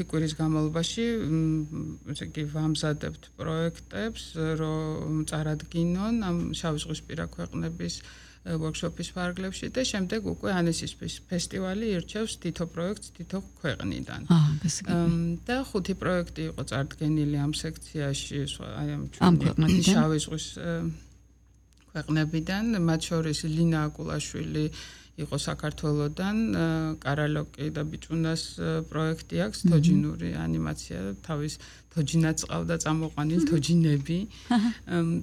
5 კვირის განმავლობაში ესე იგი ვამზადებთ პროექტებს, რომ წარადგინონ ამ შავიზღვისპირა ქვეყნების workshop-ის ფარგლებში და შემდეგ უკვე ანესის ფესტივალი ირჩევს თითო პროექტს თითო ქვეყნიდან. და 5 პროექტი იყო წარდგენილი ამ სექციაში, აი ამ შავი ზღვის ქვეყნებიდან, მათ შორის ლინა აკულაშვილი იყო საქართველოდან, კარალოკი და ბიჭუნას პროექტი აქვს, თოჯინური ანიმაცია, თავის თოჯინაც ყავდა წამოყვანილი თოჯინები,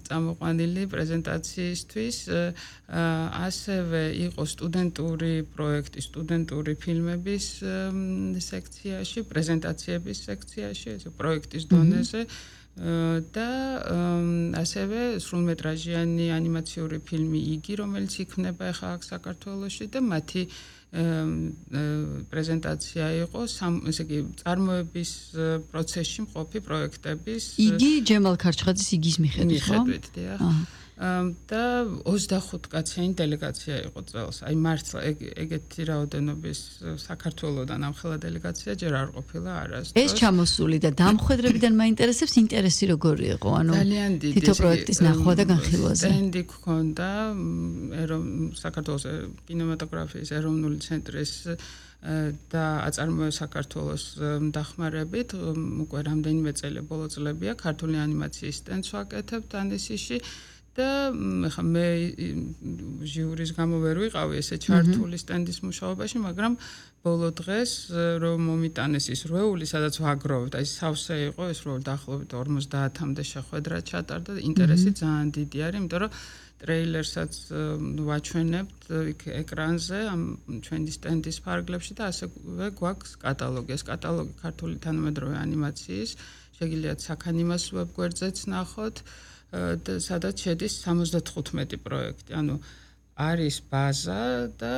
წამოყვანილი პრეზენტაციისთვის, ასევე იყო სტუდენტური პროექტი, სტუდენტური ფილმების სექციაში, პრეზენტაციების სექციაში, ესე პროექტის დონეზე და ასევე სრულმეტრაჟიანი ანიმაციური ფილმი იგი, რომელიც იქნება ახლა აქ საქართველოში და მათი პრეზენტაცია იყო ესე იგი წარმოების პროცესში მყოფი პროექტების იგი ჯემალ ქარჩხაძის იგის მიხედვით, ხო? და 25 კაციანი დელეგაცია იყო წელს. აი მართლა ეგეთი რაოდენობის საქართველოდან ამხელა დელეგაცია ჯერ არ ყოფილა არასდროს. ეს ჩამოსული და დამხვედრებიდან მაინტერესებს ინტერესი როგორი იყო, ანუ თითო პროექტის ნახვა და განხილვაზე. სტენდი გქონდა საქართველოს კინემატოგრაფიის ეროვნული ცენტრის და აწარმოე საქართველოს დახმარებით უკვე რამდენიმე წელი ბოლო წლებია ქართული ანიმაციის სტენდს ვაკეთებთ ანესიში და მე ჟიურის გამო ვერ ვიყავი ესე ჩართული სტენდის მუშაობაში, მაგრამ ბოლო დღეს რომ მომიტანეს ის რვეული, სადაც ვაგროვებთ, აი სავსე იყო ეს რვეული დაახლოებით 50-მდე შეხვედრა ჩატარდა და ინტერესი ძალიან დიდი არის, იმიტომ რომ ტრეილერსაც ვაჩვენებთ იქ ეკრანზე ამ ჩვენი სტენდის ფარგლებში და ასევე გვაქვს კატალოგი. ეს კატალოგი ქართული თანამედროვე ანიმაციის, შეგიძლიათ საქანიმას ვებგვერდზეც ნახოთ. სადაც შედის 75 პროექტი. ანუ არის ბაზა და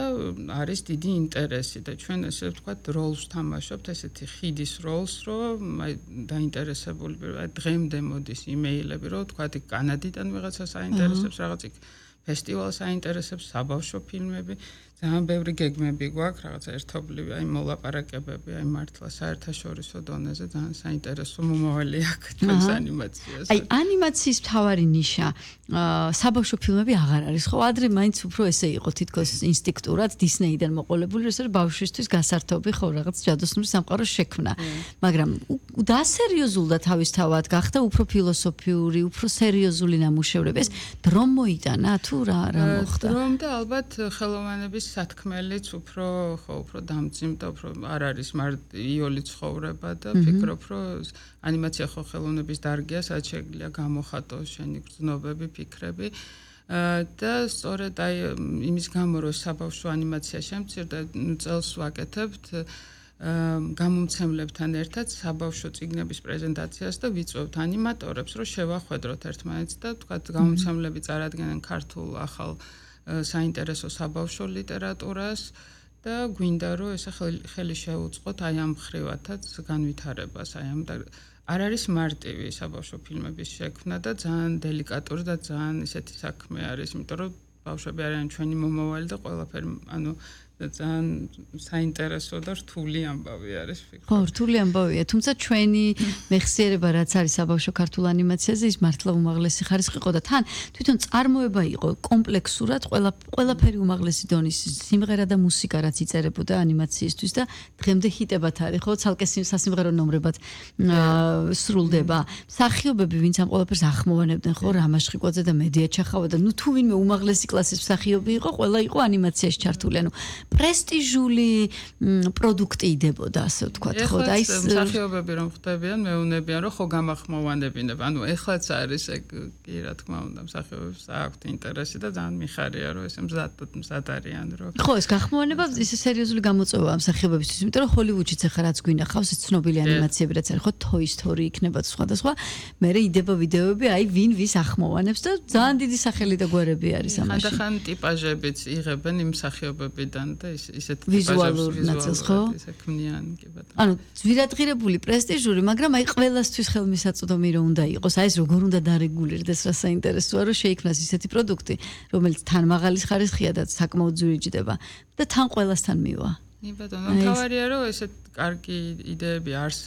არის დიდი ინტერესი და ჩვენ ესე ვთქვათ როლს თამაშობთ, ესეთი ხიდის როლს, რომ აი დაინტერესებული დღემდე მოდის იმეილები, რომ ვთქვათ იქ კანადიდან ვიღაცას აინტერესებს რაღაც იქ ფესტივალს აინტერესებს, საბავშვო ფილმები, ძალიან ბევრი გეგმები გვაქვს, რაღაცა ერთობლივი, აი მოლაპარაკებები, აი მართლა საერთაშორისო დონეზე ძალიან საინტერესო მომავალი აქვს ჩვენს ანიმაციას. აი ანიმაციის მთავარი ნიშა საბავშვო ფილმები აღარ არის, ხო? ადრე მაინც უფრო ესე იყო თითქოს ინსტინქტურად დისნეიდან მოყოლებული, რომ ბავშვისთვის გასართობი ხო რაღაც ჯადოსნური სამყაროს შექმნა. მაგრამ დასერიოზულდა თავისთავად გახდა უფრო ფილოსოფიური, უფრო სერიოზული ნამუშევრები. ეს დრომ მოიტანა თუ რა მოხდა? დრომ და ალბათ ხელოვანების სათქმელიც უფრო დამძიმდა, უფრო არ არის იოლი ცხოვრება და ფიქრობ, რომ ანიმაცია ხო ხელოვნების დარგია, სადაც შეგვიძლია გამოხატოს შენი გრძნობები, ფიქრები. და სწორედ აი იმის გამო რომ საბავშვო ანიმაცია შემცირდა, წელს ვაკეთებთ გამომცემლებთან ერთად საბავშვო წიგნების პრეზენტაციას და ვიწვევთ ანიმატორებს, რომ შევახვედროთ ერთმანეთს და თქვათ გამომცემლები წარადგენენ ქართულ ახალ საინტერესო საბავშვო ლიტერატურას და გვინდა რომ ესე ხელი შეუწყოთ აი ამ ხრივათაც განვითარებას, აი ამ არ არის მარტივი საბავშვო ფილმების შექმნა და ძალიან დელიკატური და ძალიან ისეთი საქმე არის, იმიტომ რომ ბავშვები არიან ჩვენი მომავალი და ყველაფერი ანუ ძალიან საინტერესო და რთული ამბავი არის ფიქრობ. ხო, რთული ამბავია, თუმცა ჩვენი მეხსიერება რაც არის საბავშვო ქართულ ანიმაციაზე, ის მართლა უმაღლესი ხარისხი იყო და თან თვითონ წარმოება იყო კომპლექსურად, ყველაფერი უმაღლესი დონის სიმღერა და მუსიკა რაც იწერებოდა ანიმაციისთვის და დღემდე ჰიტებად არის, ხო, ცალკე სასიმღერო ნომრებად სრულდება. მსახიობები, ვინც ამ ყველაფერს ახმოვანებდნენ, ხო, რამაშ ხვიკვაძე და მედია ჩახავა და ნუ თუ ვინმე უმაღლესი კლასის მსახიობი იყო, ყველა იყო ანიმაციაში ჩართული, ანუ პრესტიჟული პროდუქტი იდებოდა, ასე ვთქვათ, ხო და ის მსახიობები რომ ხდებიან, მეუნებიან რომ ხო გამახმოვანებინებ. ანუ ეხლაც არის ეგ კი რა თქმა უნდა, მსახიობებს აქვთ ინტერესი და ძალიან მიხარია რომ ესე მზად არიან რომ ხო, ეს გახმოვანება ისე სერიოზული გამოწვევაა მსახიობებისთვის, იმიტომ რომ ჰოლივუდშიც ახლა რაც გვინახავს, ეს ცნობილი ანიმაციები რაც არის, ხო, Toy Story იქნება სხვადასხვა, მერე იდება ვიდეოები, აი ვინ ვის ახმოვანებს და ძალიან დიდი სახელი და გვერები არის ამაში. ხანდახან ტიპაჟებიც იღებენ იმ მსახიობებიდან და ისეთ ვიზუალურ ნაწილს, ხო? ისე ქმნიან კი ბატონო. ანუ ძვირადღირებული, პრესტიჟური, მაგრამ აი ყველასთვის ხელმისაწვდომი რომ უნდა იყოს, აი ეს როგორ უნდა დარეგულირდეს, რა საინტერესოა, რომ შეიქმნას ისეთი პროდუქტი, რომელიც თან მაღალი ხარისხია და საკმაოდ ძვირიჯდება და თან ყველასთან მივა. კი ბატონო, თავარია რომ ესეთ კარგი იდეები არსებობს.